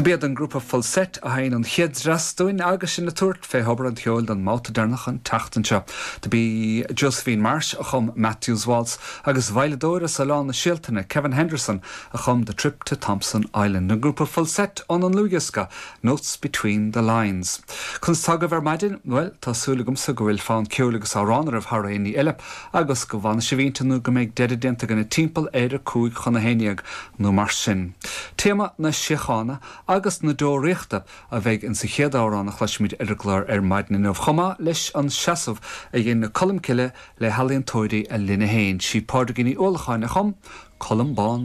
Do b'iad an grúpa Falsett a sheinn an chéad dreas dúinn agus sinn ag tabhairt fé thobar an cheoil don mbabhta deireanach an tseachtain seo. Do b'í Josephine Marsh a chum Matthew's Waltz agus veidhleadóir as Oileán na Séaltaine, Kevin Henderson, a chum The Trip to Thompson Island. An grúpa Falsett ón an ndlúthdhiosca Notes Between the Lines. Conas tá agaibh ar maidin? Bhuel, tá súil agamsa go bhfuil fonn ceoil agus amhrán oraibh thar aon ní eile agus go bhfanfaidh sibh inti nó go mbeidh deireadh déanta againne timpeall ar 10:55 nó mar sin. Téama na síochána agus na deoraíochta a bheidh insa chéad amhrán a chloisfimid ar an gclár ar maidin inniu, chomh maith leis an seasamh a dhein Colm Cille le healaíontóirí a linne féin. Sí Pádraigín Ní Uallacháin a chum Colm Bán.